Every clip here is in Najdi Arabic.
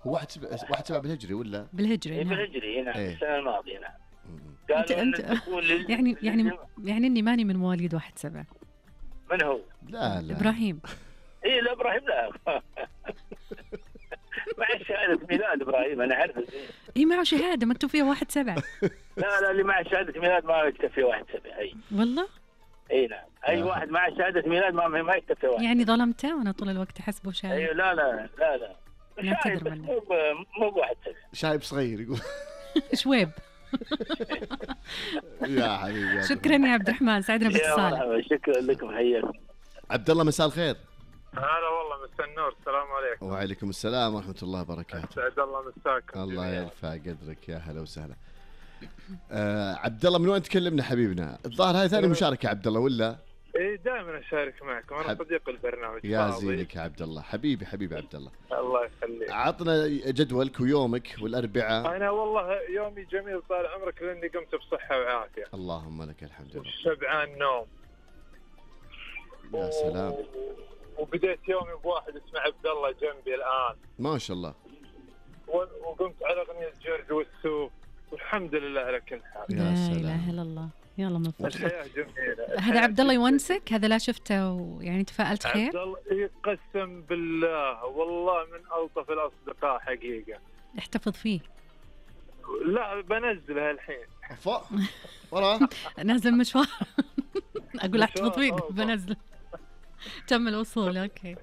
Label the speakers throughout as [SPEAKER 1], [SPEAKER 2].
[SPEAKER 1] هو 1/7 بالهجري ولا
[SPEAKER 2] بالهجري؟
[SPEAKER 3] نعم بالهجري هنا السنة الماضية. نعم.
[SPEAKER 2] انت يعني اني ماني من مواليد 1/7.
[SPEAKER 3] من هو؟
[SPEAKER 1] لا
[SPEAKER 2] ابراهيم.
[SPEAKER 3] ايه لا ابراهيم لا. مع شهادة ميلاد ابراهيم انا عارف.
[SPEAKER 2] اي معه شهادة مكتوب فيها 1/7.
[SPEAKER 3] لا اللي مع شهادة ميلاد ما يكتب فيه 1/7. اي
[SPEAKER 2] والله؟
[SPEAKER 3] اي نعم. اي واحد مع شهادة ميلاد ما يكتب فيه 1.
[SPEAKER 2] يعني ظلمته وانا طول الوقت احسبه شايب.
[SPEAKER 3] اي لا
[SPEAKER 2] نعتذر منه.
[SPEAKER 3] مو 1/7.
[SPEAKER 1] شايب صغير يقول.
[SPEAKER 2] شويب.
[SPEAKER 1] يا حبيبي
[SPEAKER 2] شكرا يا عبد الرحمن، سعدنا باتصالك.
[SPEAKER 3] شكرا لكم، حياكم.
[SPEAKER 1] عبد الله مساء الخير.
[SPEAKER 4] هلا والله مساء النور، السلام عليكم.
[SPEAKER 1] وعليكم السلام ورحمة الله وبركاته.
[SPEAKER 4] سعد الله مساكم.
[SPEAKER 1] الله يرفع قدرك، يا هلا وسهلا. عبد الله من وين تكلمنا حبيبنا؟ الظاهر هاي ثاني مشاركة عبد الله ولا؟
[SPEAKER 4] ايه دائما اشارك معكم، انا صديق البرنامج.
[SPEAKER 1] يا زينك يا عبد الله، حبيبي عبد الله.
[SPEAKER 4] الله يخليك.
[SPEAKER 1] عطنا جدولك ويومك والأربعاء.
[SPEAKER 4] انا والله يومي جميل طال عمرك لاني قمت بصحة وعافية.
[SPEAKER 1] اللهم لك الحمد لله.
[SPEAKER 4] شبعان نوم.
[SPEAKER 1] يا سلام.
[SPEAKER 4] وبديت يومي بواحد اسمه عبد الله جنبي الآن.
[SPEAKER 1] ما شاء الله.
[SPEAKER 4] وقمت على أغنية جورج والسوق، والحمد لله على كل حال.
[SPEAKER 2] لا إله إلا الله. يلا مبروك.
[SPEAKER 4] الحياة جميلة.
[SPEAKER 2] هذا عبد الله يونسك؟ هذا لا شفته ويعني تفائلت خير؟
[SPEAKER 4] عبد الله يقسم بالله والله من ألطف الأصدقاء حقيقة.
[SPEAKER 2] احتفظ فيه.
[SPEAKER 4] لا بنزلها الحين.
[SPEAKER 1] ورا
[SPEAKER 2] نازل مشوار. أقول احتفظ فيه بنزل. تم الوصول. أوكي.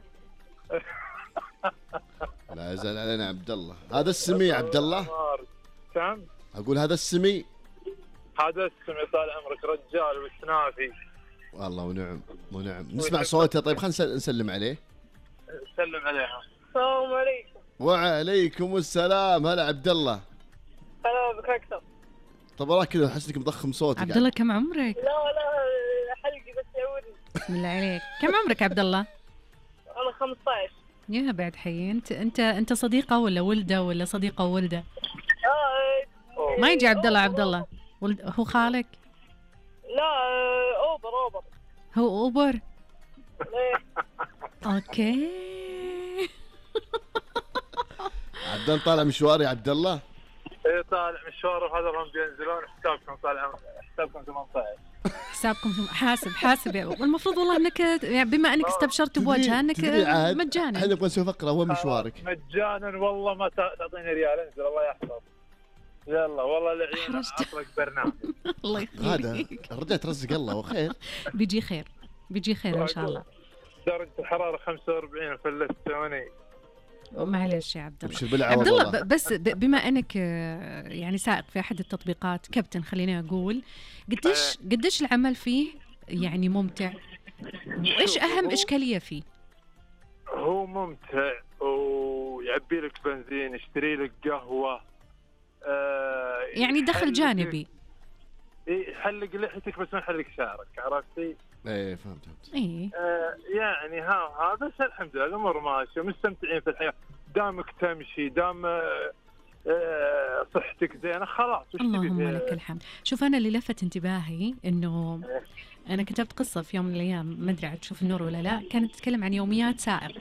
[SPEAKER 1] لا يزال علينا عبد الله. هذا السمي عبد الله.
[SPEAKER 4] سام.
[SPEAKER 1] أقول هذا السمي.
[SPEAKER 4] هذا السمي طال عمرك رجال وسنافي.
[SPEAKER 1] والله ونعم. نسمع صوته. طيب خلينا نسلم عليه.
[SPEAKER 4] سلم عليها. السلام عليكم.
[SPEAKER 1] وعليكم السلام. هلا عبد الله.
[SPEAKER 4] هلا بك أكثر.
[SPEAKER 1] طب وراك كذا أحسك مضخم صوتك.
[SPEAKER 2] عبد الله كم عمرك؟
[SPEAKER 4] لا حلقي بس يعودني.
[SPEAKER 2] بسم الله عليك. كم عمرك عبد الله؟
[SPEAKER 4] أنا 15.
[SPEAKER 2] يا بعد حي. انت صديقه ولا ولده ولا صديقه وولده؟ ما يجي عبد الله هو خالك؟
[SPEAKER 4] لا اوبر.
[SPEAKER 2] هو اوبر. اوكي.
[SPEAKER 1] عبد الله طالع مشوار يا عبد الله.
[SPEAKER 4] ايه طالع مشوار، وهذا هم بينزلون. حسابكم طالع، حسابكم 18.
[SPEAKER 2] حسابكم حاسب والمفروض والله انك يعني بما انك استبشرت بوجهه انك مجانا.
[SPEAKER 1] احنا نبغى نسوي فقره. وين مشوارك؟
[SPEAKER 4] مجانا والله ما تعطيني ريال. انزل الله يحفظ. يلا والله العيون اطلق برنامج.
[SPEAKER 2] الله يخليك.
[SPEAKER 1] هذا الرجال ترزق الله وخير.
[SPEAKER 2] بيجي خير ان شاء الله.
[SPEAKER 4] درجه الحراره 45 فلستوني.
[SPEAKER 2] معلش يا عبد الله. عبد الله بس بما انك يعني سائق في احد التطبيقات، كابتن خليني اقول، قديش العمل فيه يعني ممتع، وايش اهم اشكاليه فيه؟
[SPEAKER 4] هو ممتع ويعبي لك بنزين، يشتري لك قهوه،
[SPEAKER 2] يعني دخل جانبي.
[SPEAKER 4] يحلق لحيتك بس ما يحلق شعرك، عرفتي؟
[SPEAKER 1] ايه فهمت.
[SPEAKER 2] ايه
[SPEAKER 4] يعني ها بس الحمد لله الامور ماشيه، مستمتعين في الحياه. دامك تمشي، دام صحتك زينه، خلاص.
[SPEAKER 2] اللهم لك الحمد. شوف انا اللي لفت انتباهي انه انا كتبت قصه في يوم من الايام، ما ادري عاد تشوف النور ولا لا، كانت تتكلم عن يوميات سائق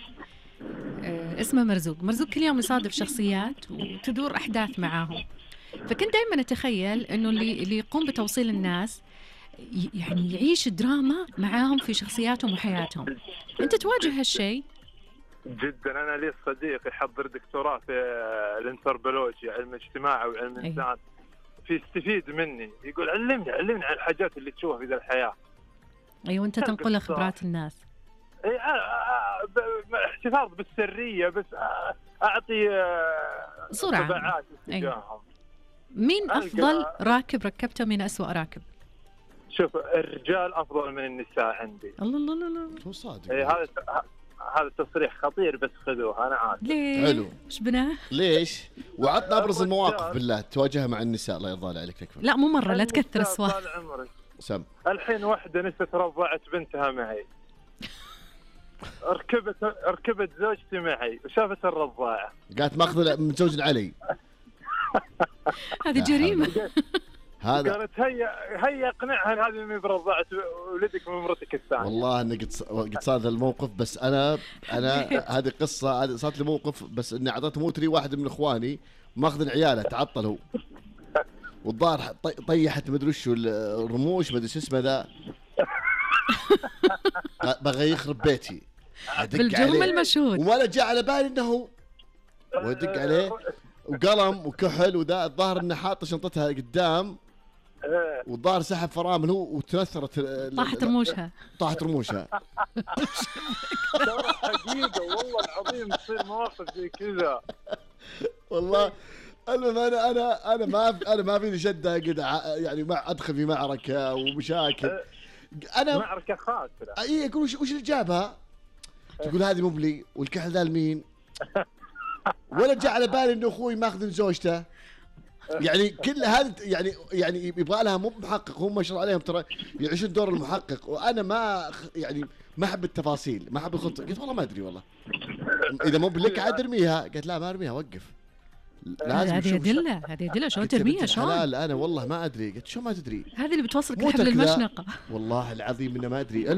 [SPEAKER 2] اسمه مرزوق كل يوم يصادف شخصيات وتدور احداث معاهم. فكنت دائما اتخيل انه اللي يقوم بتوصيل الناس يعني يعيش دراما معاهم في شخصياتهم وحياتهم. انت تواجه هالشيء؟
[SPEAKER 4] جدا. انا لي صديق يحضر دكتوراه في الانثروبولوجيا، علم الاجتماع وعلم الانسان. يستفيد مني، يقول علمني عن الحاجات اللي تشوفها في ذا الحياه.
[SPEAKER 2] ايوه انت تنقل خبرات الناس.
[SPEAKER 4] احتفاظ بالسريه، بس اعطي
[SPEAKER 2] صوره
[SPEAKER 4] تبعات اتجاههم.
[SPEAKER 2] مين افضل راكب ركبته، من اسوأ راكب؟
[SPEAKER 4] شوف الرجال افضل من النساء عندي.
[SPEAKER 2] الله
[SPEAKER 1] هو صادق.
[SPEAKER 4] هذا تصريح خطير، بس خذوه. انا عارف.
[SPEAKER 2] ليه؟
[SPEAKER 1] حلو.
[SPEAKER 2] ايش بناه؟
[SPEAKER 1] ليش؟ وعطنا ابرز المواقف بالله تواجهها مع النساء. الله يرضى عليك تكفى.
[SPEAKER 2] لا مو مره، لا تكثر السوالف.
[SPEAKER 4] طال عمرك.
[SPEAKER 1] سم.
[SPEAKER 4] الحين واحده نست رضعت بنتها معي. ركبت زوجتي معي وشافت الرضاعه،
[SPEAKER 1] قالت ماخذ متزوج علي.
[SPEAKER 2] هذه جريمه.
[SPEAKER 1] هذا
[SPEAKER 4] قالت هيا اقنعها هذه من برضعت ولدك من مرتك الثانيه.
[SPEAKER 1] والله اني قد صار ذا الموقف، بس انا هذه قصه، هذه صارت لي موقف، بس اني اعطيته موتري واحد من اخواني ماخذ عياله تعطل هو، والظاهر طيحت مدري وش الرموش مدري شو اسمه ذا بغى يخرب بيتي
[SPEAKER 2] بالجرم المشهود،
[SPEAKER 1] ولا جاء على بالي انه ودق عليه وقلم وكحل وذا. الظاهر انه حاط شنطتها قدام والظاهر سحب فرامل هو وتنثرت
[SPEAKER 2] طاحت رموشها
[SPEAKER 4] ترى حقيقه والله العظيم تصير مواقف زي كذا
[SPEAKER 1] والله. المهم انا ما فيني شده قد يعني ما ادخل في معركه ومشاكل. انا
[SPEAKER 4] معركه خاسره.
[SPEAKER 1] اي اقول وش اللي جابها؟ تقول هذه مو بلي والكحل ذا لمين؟ ولا جاء على بالي انه اخوي ماخذ زوجته. يعني كل هذا يعني يبغى لها مو محقق، هم ما شاء الله عليهم ترى يعيشون دور المحقق، وانا ما احب التفاصيل، ما احب الخطه. قلت والله ما ادري، والله اذا مو بلك عاد ارميها. قالت لا ما ارميها، وقف لازم
[SPEAKER 2] هذه يدله شلون ترميها شلون؟
[SPEAKER 1] لا انا والله ما ادري. قلت شو ما تدري؟
[SPEAKER 2] هذه اللي بتوصلك لحبل المشنقه.
[SPEAKER 1] والله العظيم انه ما ادري.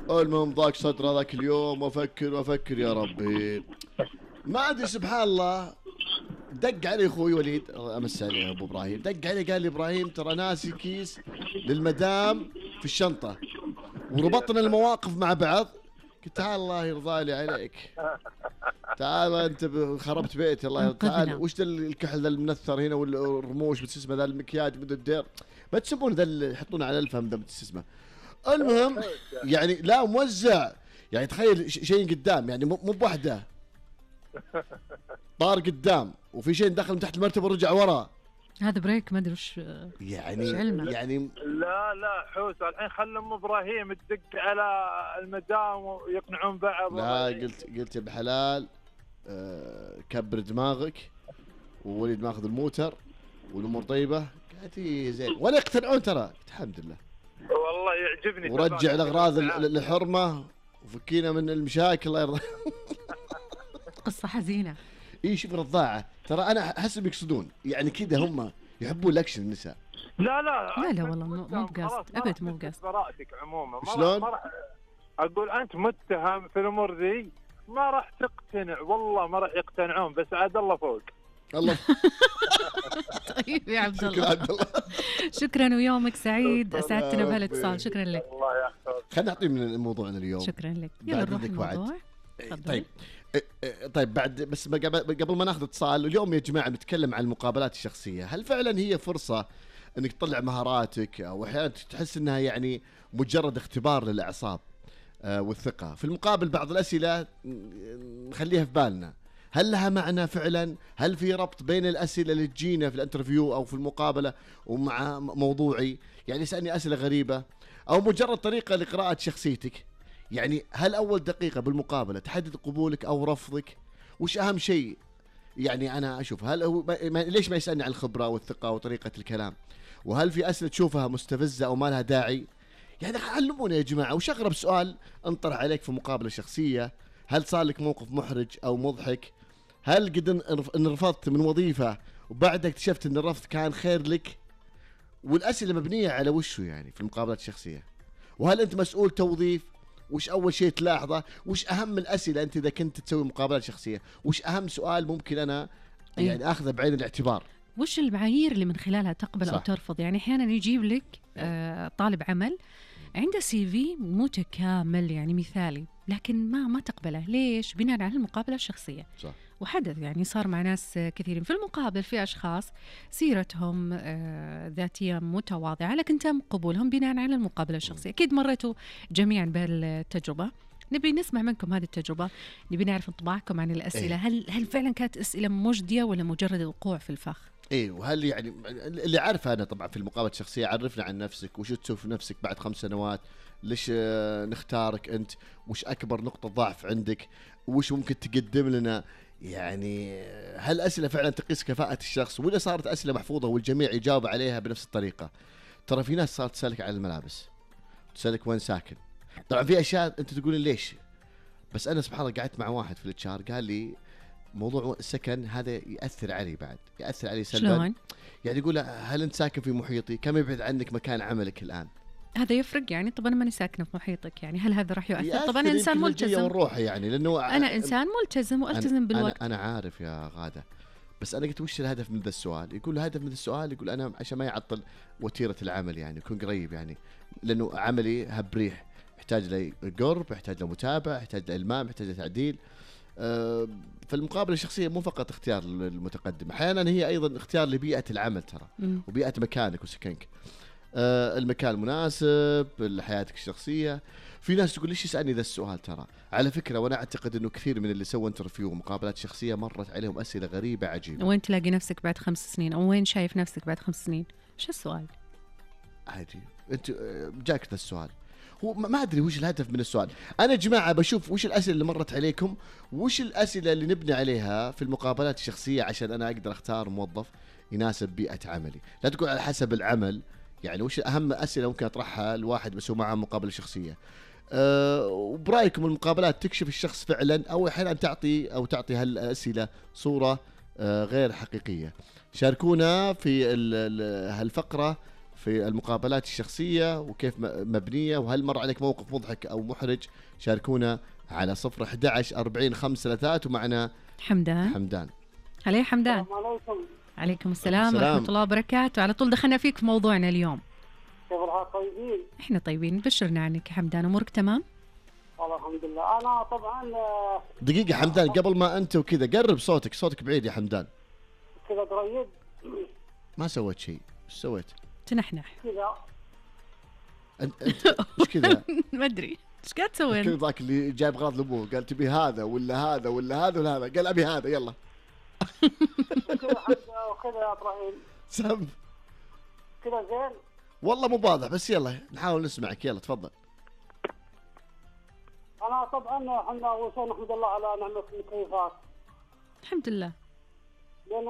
[SPEAKER 1] المهم ضاق صدر هذاك اليوم وافكر يا ربي ما ادري. سبحان الله دق علي اخوي وليد، امس عليه ابو ابراهيم، دق علي قال لي ابراهيم ترى ناسي كيس للمدام في الشنطه، وربطنا المواقف مع بعض. قلت تعال الله يرضى لي عليك، تعال انت خربت بيتي الله يرضى. تعال وش ذا الكحل ذا المنثر هنا والرموش بس اسمه ذا المكياج بدل الدير، ما تسمون ذا اللي يحطونه على الفم ذا بس اسمه. المهم يعني لا موزع، يعني تخيل شيء قدام، يعني مو بوحده طار قدام وفي شيء دخل من تحت المرتبه ورجع ورا.
[SPEAKER 2] هذا بريك ما ادري وش
[SPEAKER 1] يعني
[SPEAKER 4] لا حوس الحين خلى ام ابراهيم تدق على المدام ويقنعون بعض.
[SPEAKER 1] لا قلت يا بحلال كبر دماغك، ووليد ماخذ الموتر والامور طيبه. قالت زين ولا يقتنعون ترى. قلت الحمد لله
[SPEAKER 4] والله يعجبني.
[SPEAKER 1] ورجع الاغراض الحرمه وفكينا من المشاكل الله يرضى.
[SPEAKER 2] قصه حزينه.
[SPEAKER 1] اي شوف رضاعه ترى انا احس بيقصدون يعني كذا، هم يحبون الاكشن النساء.
[SPEAKER 4] لا
[SPEAKER 2] والله مو بقصد ابد، مو بقصد.
[SPEAKER 4] براءتك عموما
[SPEAKER 1] شلون؟
[SPEAKER 4] اقول انت متهم في الامور ذي، ما راح تقتنع والله، ما راح يقتنعون، بس عاد الله فوق.
[SPEAKER 1] الله
[SPEAKER 2] طيب يا عبد الله شكرا ويومك سعيد، اسعدتنا بهالاتصال. شكرا لك.
[SPEAKER 4] الله يحفظك.
[SPEAKER 1] خلينا نعطي من موضوعنا اليوم.
[SPEAKER 2] شكرا لك. يلا نروح الموضوع.
[SPEAKER 1] طيب بعد بس قبل ما ناخذ اتصال، اليوم يا جماعه بنتكلم عن المقابلات الشخصيه. هل فعلا هي فرصه انك تطلع مهاراتك، او احيانا تحس انها يعني مجرد اختبار للاعصاب والثقه؟ في المقابل بعض الاسئله نخليها في بالنا، هل لها معنى فعلا؟ هل في ربط بين الاسئله اللي تجينا في الانترفيو او في المقابله ومع موضوعي؟ يعني يسالني اسئله غريبه، او مجرد طريقه لقراءه شخصيتك؟ يعني هل أول دقيقة بالمقابلة تحدد قبولك أو رفضك؟ وش أهم شيء؟ يعني أنا أشوف هل هو ليش ما يسألني عن الخبرة والثقة وطريقة الكلام؟ وهل في أسئلة تشوفها مستفزة أو ما لها داعي؟ يعني علمونا يا جماعة. وش أغرب سؤال انطرح عليك في مقابلة شخصية؟ هل صار لك موقف محرج أو مضحك؟ هل قد انرفضت من وظيفة وبعدها اكتشفت أن الرفض كان خير لك؟ والأسئلة مبنية على وشو يعني في المقابلات الشخصية؟ وهل أنت مسؤول توظيف؟ وش أول شيء تلاحظه؟ وش أهم الأسئلة أنت إذا كنت تسوي مقابلات شخصية؟ وش أهم سؤال ممكن أنا يعني أخذه بعين الاعتبار؟
[SPEAKER 2] وش المعايير اللي من خلالها تقبل
[SPEAKER 1] صح.
[SPEAKER 2] أو ترفض؟ يعني أحيانا يجيب لك طالب عمل عنده CV متكامل يعني مثالي، لكن ما تقبله. ليش؟ بناء على المقابلة الشخصية.
[SPEAKER 1] صح.
[SPEAKER 2] وحدث يعني صار مع ناس كثيرين في المقابل، في أشخاص سيرتهم ذاتية متواضعة لكن تم قبولهم بناء على المقابلة الشخصية. أكيد مريتوا جميعا بهالتجربة. نبي نسمع منكم هذه التجربة، نبي نعرف انطباعكم عن الأسئلة. هل فعلا كانت أسئلة مجدية ولا مجرد الوقوع في الفخ؟
[SPEAKER 1] ايه، وهل يعني اللي عارفه انا طبعا في المقابله الشخصيه، عرفنا عن نفسك، وش تسوي في نفسك بعد 5 سنوات، ليش نختارك انت، وش اكبر نقطه ضعف عندك، وش ممكن تقدم لنا. يعني هل اسئله فعلا تقيس كفاءه الشخص، ولا صارت اسئله محفوظه والجميع يجاوب عليها بنفس الطريقه؟ ترى في ناس صارت تسالك على الملابس، تسالك وين ساكن. طبعا في اشياء انت تقولين ليش، بس انا سبحان الله قعدت مع واحد في الاتشار قال لي موضوع السكن هذا يأثر علي بعد، يأثر علي سلبا.
[SPEAKER 2] شلون؟
[SPEAKER 1] يعني يقول هل أنت ساكن في محيطي؟ كم يبعد عنك مكان عملك الآن؟
[SPEAKER 2] هذا يفرق يعني. طب انا ماني ساكنه في محيطك، يعني هل هذا راح يؤثر؟ طب انا
[SPEAKER 1] يأثر
[SPEAKER 2] انسان
[SPEAKER 1] يمكن للجية
[SPEAKER 2] ملتزم،
[SPEAKER 1] والروح يعني، لأنه
[SPEAKER 2] انا انسان ملتزم والتزم بالوقت.
[SPEAKER 1] أنا عارف يا غادة، بس أنا قلت وش الهدف من ذا السؤال؟ يقول الهدف من ذا السؤال، يقول أنا عشان ما يعطل وتيرة العمل يعني، يكون قريب يعني، لأنه عملي هبريح، يحتاج لي قرب، يحتاج له متابعة، يحتاج له إلمام، يحتاج له تعديل. فالمقابلة الشخصية مو فقط اختيار للمتقدم، أحيانا هي أيضا اختيار لبيئة العمل ترى، وبيئة مكانك وسكنك، المكان المناسب لحياتك الشخصية. في ناس تقول ليش يسألني ذا السؤال؟ ترى على فكرة وأنا أعتقد أنه كثير من اللي سووا انترفيو ومقابلات شخصية مرت عليهم أسئلة غريبة عجيبة.
[SPEAKER 2] وين تلاقي نفسك بعد 5 سنين؟ أو وين شايف نفسك بعد 5 سنين؟ شو السؤال؟
[SPEAKER 1] عادي، أنت جاك ذا السؤال، هو ما أدري وش الهدف من السؤال. أنا جماعة بشوف وش الأسئلة اللي مرت عليكم، وش الأسئلة اللي نبني عليها في المقابلات الشخصية عشان أنا أقدر أختار موظف يناسب بيئة عملي. لا تقول على حسب العمل، يعني وش أهم أسئلة ممكن أطرحها الواحد بسوي معه مقابلة شخصية. وبرأيكم المقابلات تكشف الشخص فعلا، أو أحيانا تعطي هالأسئلة صورة غير حقيقية؟ شاركونا في هالفقرة في المقابلات الشخصية وكيف مبنية، وهل مر عليك موقف مضحك أو محرج؟ شاركونا على 011 40 533. ومعنا حمدان.
[SPEAKER 2] هلا حمدان.
[SPEAKER 5] السلام عليكم.
[SPEAKER 2] عليكم السلام ورحمة الله وبركاته. على طول دخلنا فيك في موضوعنا اليوم.
[SPEAKER 5] كيف الحال؟ طيبين؟
[SPEAKER 2] احنا طيبين، بشرنا عنك يا حمدان. امورك تمام؟
[SPEAKER 5] والله الحمد لله. انا طبعا
[SPEAKER 1] دقيقة حمدان، قبل ما أنت وكذا قرب صوتك بعيد يا حمدان.
[SPEAKER 5] كذا قريب.
[SPEAKER 1] ما سويت شيء، ايش سويت؟
[SPEAKER 2] تنحنح
[SPEAKER 5] كذا.
[SPEAKER 1] انت ايش كذا؟
[SPEAKER 2] ما ادري ايش قاعد تسوي.
[SPEAKER 1] كذا ذاك اللي جايب غراض لابوه قال تبي هذا ولا هذا ولا هذا ولا هذا، قال ابي هذا يلا.
[SPEAKER 5] كذا يا ابراهيم.
[SPEAKER 1] سم
[SPEAKER 5] كذا زين.
[SPEAKER 1] والله مو واضح بس يلا نحاول نسمعك، يلا تفضل.
[SPEAKER 5] انا طبعا احنا اول شيء نحمد الله على نعمه المكيفات.
[SPEAKER 2] الحمد لله.
[SPEAKER 5] لان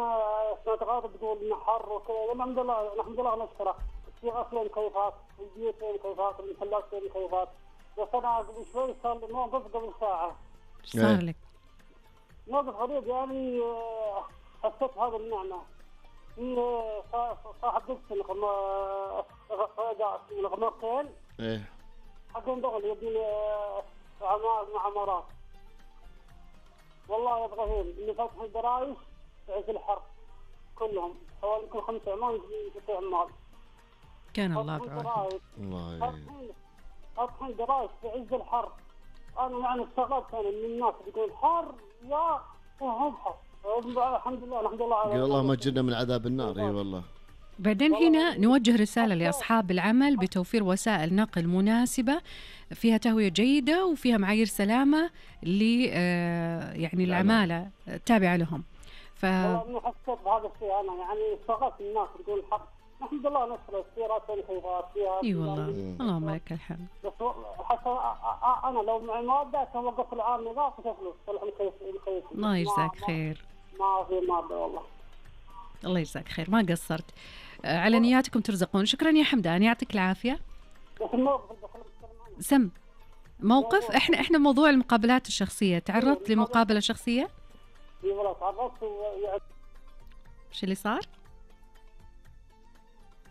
[SPEAKER 5] سمعت غاضب تقول انه حر وكذا، الحمد لله نحمد الله نشكره. في غسل مكيفات، البيوت فيها مكيفات، المحلات فيها مكيفات. بس انا قبل شوي صار لي موقف قبل ساعه.
[SPEAKER 2] ايش صار لك؟
[SPEAKER 5] موقف غريب يعني، حسيت هذا النعمه. في صاحب دكتور الغمارتين
[SPEAKER 1] ايه
[SPEAKER 5] حقهم دغل يبني عمارات. والله يا ابراهيم اللي فتحوا الدرايش في عز الحر كلهم حوالي يمكن 5 عمال في عمال.
[SPEAKER 2] كان الله بعونه.
[SPEAKER 5] فاتحين درايش في عز الحر. انا يعني استغربت انا من الناس يقول حر يا وهم حر. الحمد لله
[SPEAKER 1] قال اللهم اجرنا من عذاب النار. اي والله.
[SPEAKER 2] بعدين هنا نوجه رسالة لأصحاب العمل بتوفير وسائل نقل مناسبة فيها تهوية جيدة وفيها معايير سلامة يعني العمالة التابعة لهم.
[SPEAKER 5] والله حسيت بهذا الشيء أنا يعني استغربت الناس تقول حق. الحمد لله نشر السيارات والكيفات فيها.
[SPEAKER 2] اي والله اللهم لك الحمد.
[SPEAKER 5] بس حتى أنا لو معي مادة كان وقف العام نظافة فلوس صلح الكيف.
[SPEAKER 2] الله يجزاك خير.
[SPEAKER 5] ما في مادة والله.
[SPEAKER 2] الله يجزاك خير، ما قصرت. على نياتكم ترزقون. شكرا يا حمدان، يعطيك العافية. سم موقف. احنا موضوع المقابلات الشخصية. تعرضت لمقابلة شخصية؟
[SPEAKER 5] اي والله تعرضت.
[SPEAKER 2] ايش اللي صار؟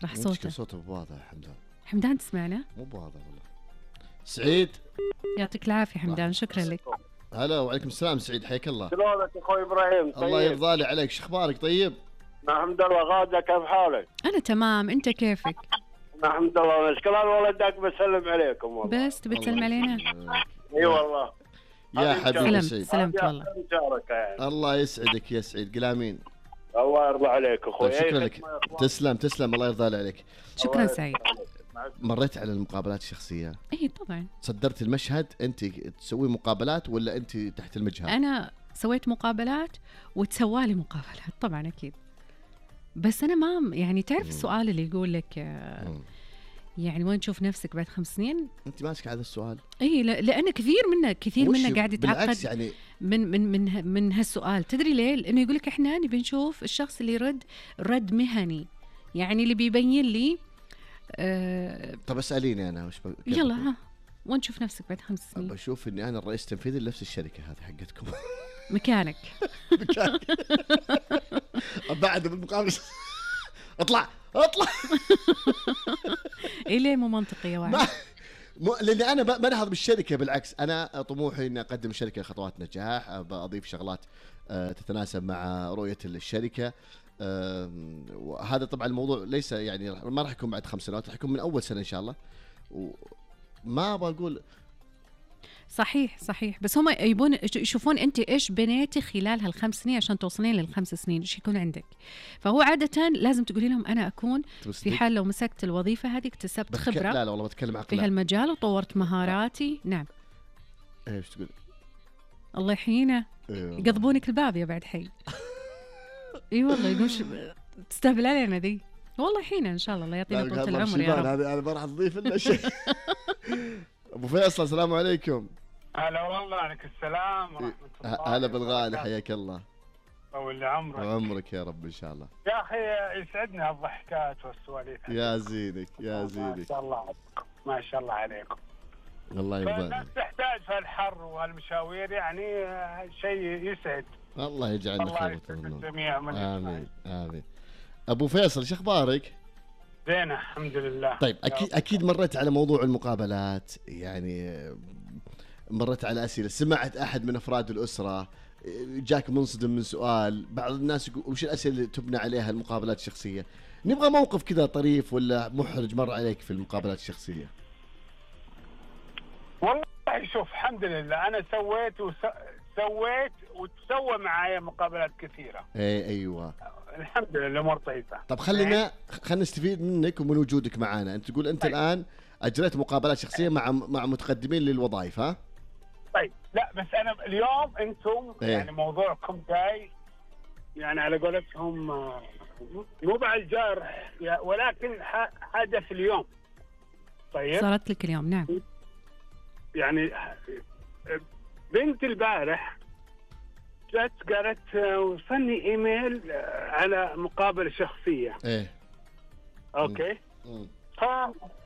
[SPEAKER 2] راح
[SPEAKER 1] صوته واضح.
[SPEAKER 2] حمدان تسمعنا؟
[SPEAKER 1] مو واضح والله. سعيد
[SPEAKER 2] يعطيك العافية حمدان، شكرا لك.
[SPEAKER 1] هلا وعليكم السلام سعيد، حياك الله.
[SPEAKER 3] شلونك اخوي ابراهيم؟ طيب.
[SPEAKER 1] الله يرضى لي عليك، شو اخبارك؟ طيب
[SPEAKER 3] الحمد لله. غادة كيف حالك؟
[SPEAKER 2] انا تمام، انت كيفك؟
[SPEAKER 3] الحمد لله نشكر. والله داك بسلم عليكم والله.
[SPEAKER 2] بس تبي تسلم علينا؟
[SPEAKER 3] اي والله
[SPEAKER 1] يا حبيبي سعيد.
[SPEAKER 2] سلمت والله.
[SPEAKER 3] يعني.
[SPEAKER 1] الله يسعدك يا سعيد، قلامين.
[SPEAKER 3] الله يرضى عليك اخوي.
[SPEAKER 1] طيب شكرا لك. تسلم الله يرضى عليك.
[SPEAKER 2] شكرا سعيد.
[SPEAKER 1] مريت على المقابلات الشخصية؟
[SPEAKER 2] اي طبعا.
[SPEAKER 1] صدرت المشهد؟ انت تسوي مقابلات ولا انت تحت المجهر؟
[SPEAKER 2] انا سويت مقابلات وتسوالي مقابلات طبعا اكيد. بس انا ما يعني تعرف السؤال اللي يقول لك يعني وين تشوف نفسك بعد 5 سنين؟
[SPEAKER 1] انت ماسك هذا السؤال؟
[SPEAKER 2] اي لان كثير منا قاعد يتعقد
[SPEAKER 1] يعني
[SPEAKER 2] من هالسؤال. تدري ليه؟ لانه يقول لك احنا نبي نشوف الشخص اللي يرد رد مهني، يعني اللي بيبين لي
[SPEAKER 1] طب اساليني انا وش
[SPEAKER 2] يلا ها وين تشوف نفسك بعد 5 سنين؟
[SPEAKER 1] بشوف اني انا الرئيس التنفيذي لنفس الشركه هذه حقتكم.
[SPEAKER 2] مكانك.
[SPEAKER 1] بعد بالمقابل اطلع
[SPEAKER 2] إيه ليه مو منطقي يا واحد؟
[SPEAKER 1] لأن أنا ما نهض بالشركة، بالعكس أنا طموحي إني أقدم الشركة خطوات نجاح، أضيف شغلات تتناسب مع رؤية الشركة. وهذا طبعا الموضوع ليس يعني ما راح يكون بعد 5 سنوات، راح يكون من أول سنة إن شاء الله. وما أبغى أقول
[SPEAKER 2] صحيح، بس هم يبون يشوفون أنت إيش بنيتي خلال هال5 سنين عشان توصلين لل5 سنين، إيش يكون عندك. فهو عادة لازم تقولي لهم أنا أكون في حال لو مسكت الوظيفة هذه اكتسبت خبرة
[SPEAKER 1] لا والله بتكلم عقل
[SPEAKER 2] في هالمجال وطورت مهاراتي. نعم.
[SPEAKER 1] إيش تقول؟
[SPEAKER 2] الله يحيينا. يقضبونك الباب يا بعد حي. اي والله يقول تستهبل علينا ذي. والله يحيينا ان شاء الله يعطينا طول العمر يا رب.
[SPEAKER 1] هذا ما راح تضيف لنا شيء. ابو فيصل السلام عليكم.
[SPEAKER 6] هلا والله، عليك السلام ورحمة الله.
[SPEAKER 1] هلا بالغالي، حياك الله.
[SPEAKER 6] طول عمرك.
[SPEAKER 1] عمرك يا رب ان شاء الله.
[SPEAKER 6] يا اخي يسعدني هالضحكات والسواليف.
[SPEAKER 1] يا زينك يا زينك.
[SPEAKER 6] ما شاء الله عليكم، ما شاء الله عليكم.
[SPEAKER 1] الله يرضى.
[SPEAKER 6] الناس تحتاج في الحر والمشاوير، يعني شيء يسعد.
[SPEAKER 1] الله يجعلنا خير
[SPEAKER 6] الجميع.
[SPEAKER 1] امين امين. ابو فيصل شو اخبارك؟
[SPEAKER 6] زين الحمد لله.
[SPEAKER 1] طيب اكيد مريت على موضوع المقابلات، يعني مريت على اسئله، سمعت احد من افراد الاسره جاك منصدم من سؤال، بعض الناس يقول وش الاسئله اللي تبنى عليها المقابلات الشخصيه؟ نبغى موقف كذا طريف ولا محرج مر عليك في المقابلات الشخصيه.
[SPEAKER 6] والله شوف الحمد لله انا سويت وتسوى معايا مقابلات كثيره.
[SPEAKER 1] ايوه
[SPEAKER 6] الحمد لله الامور طيبه.
[SPEAKER 1] طب خلينا نستفيد منك ومن وجودك معنا. انت تقول انت الان اجريت مقابلات شخصيه مع متقدمين للوظائف، ها؟
[SPEAKER 6] طيب لا بس انا اليوم انتم يعني موضوعكم جاي يعني على قولتهم مو بعد الجارح ولكن حدث اليوم. طيب
[SPEAKER 2] صارت لك اليوم. نعم.
[SPEAKER 6] يعني بنت البارح جت قالت وصلني ايميل على مقابله شخصيه. اوكي.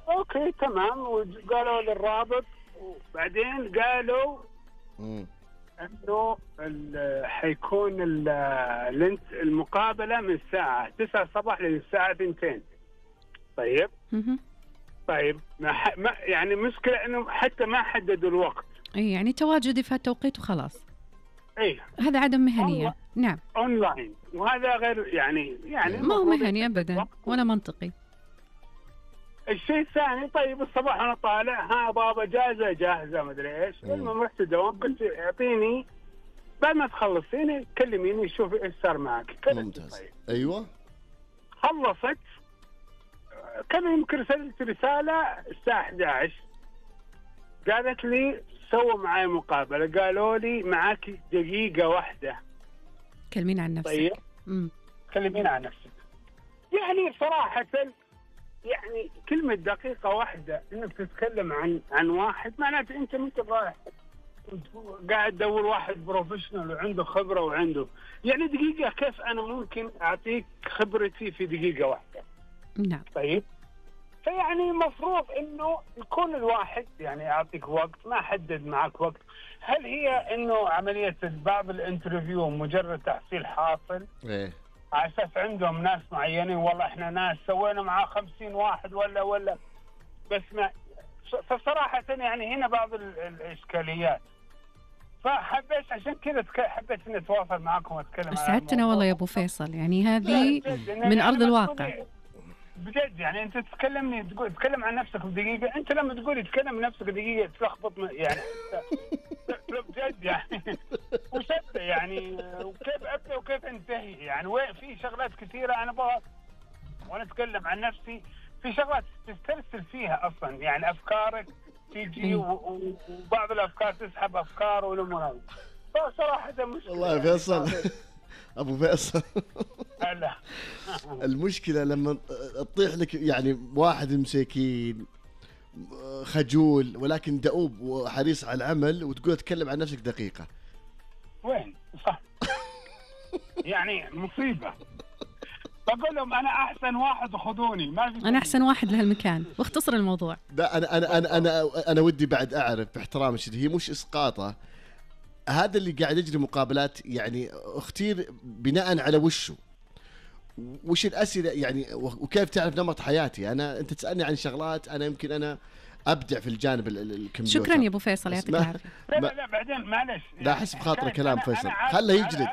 [SPEAKER 6] اوكي تمام. وقالوا للرابط، وبعدين قالوا انه حيكون المقابله من الساعه 9 الصباح للساعه 2. طيب طيب ما يعني مشكله انه حتى ما حددوا الوقت.
[SPEAKER 2] اي يعني تواجدي في التوقيت وخلاص.
[SPEAKER 6] اي هذا
[SPEAKER 2] عدم مهنيه. نعم
[SPEAKER 6] اونلاين، وهذا غير يعني
[SPEAKER 2] ما هو مهني ابدا ولا منطقي.
[SPEAKER 6] الشيء الثاني طيب الصباح انا طالع ها بابا جاهزه ما ادري ايش. المهم رحت الدوام قلت اعطيني بعد ما تخلصيني كلميني شوفي ايش صار معك.
[SPEAKER 1] ممتاز. ايوه
[SPEAKER 6] خلصت. كم يمكن رسلت رساله الساعه 11 قالت لي سووا معي مقابله، قالوا لي معك دقيقه واحده
[SPEAKER 2] كلمين عن نفسك.
[SPEAKER 6] طيب كلمين عن نفسك. يعني صراحه يعني كلمة دقيقة واحدة انك تتكلم عن واحد معناته انت مو رايح قاعد تدور واحد بروفيشنال وعنده خبرة وعنده يعني دقيقة. كيف انا ممكن اعطيك خبرتي في دقيقة واحدة؟
[SPEAKER 2] نعم.
[SPEAKER 6] طيب فيعني مفروض انه يكون الواحد يعني يعطيك وقت. ما حدد معك وقت. هل هي انه عملية بعض الانترفيو مجرد تحصيل حاصل؟ على اساس عندهم ناس معينين، والله احنا ناس سوينا معاه 50 واحد ولا بس ما. فصراحة يعني هنا بعض الاشكاليات. فحبيت عشان كذا حبيت اني اتواصل معكم واتكلم.
[SPEAKER 2] اسعدتنا والله يا ابو فيصل، يعني هذه من ارض الواقع
[SPEAKER 6] بجد. يعني انت تتكلم عن نفسك بدقيقة. انت لما تقول تتكلم عن نفسك دقيقة تلخبط يعني بجد يعني وش ابدا يعني وكيف ابدا وكيف انتهي يعني. وين في شغلات كثيره انا ابغى وانا اتكلم عن نفسي في شغلات تسترسل فيها اصلا يعني افكارك تيجي وبعض الافكار تسحب افكار والامور. فصراحه ده مشكله.
[SPEAKER 1] والله يا فيصل ابو فيصل
[SPEAKER 6] لا
[SPEAKER 1] المشكله لما تطيح لك يعني واحد مساكين خجول ولكن دؤوب وحريص على العمل وتقول تكلم عن نفسك دقيقة.
[SPEAKER 6] وين صح يعني مصيبة. بقول لهم أنا أحسن واحد وخذوني ما في.
[SPEAKER 2] أنا أحسن واحد لهالمكان واختصر الموضوع.
[SPEAKER 1] لا أنا ودي بعد أعرف باحترام الشديد، هي مش إسقاطة هذا اللي قاعد يجري مقابلات، يعني اختير بناء على وش الأسئلة يعني، وكيف تعرف نمط حياتي أنا. أنت تسألني عن شغلات أنا يمكن أنا أبدع في الجانب الكمبيوتر.
[SPEAKER 2] شكرا يا أبو فيصل، يعطيك العافية.
[SPEAKER 6] لا بعدين معلش
[SPEAKER 1] لا أحس بخاطر كلام فيصل، خله يجلد.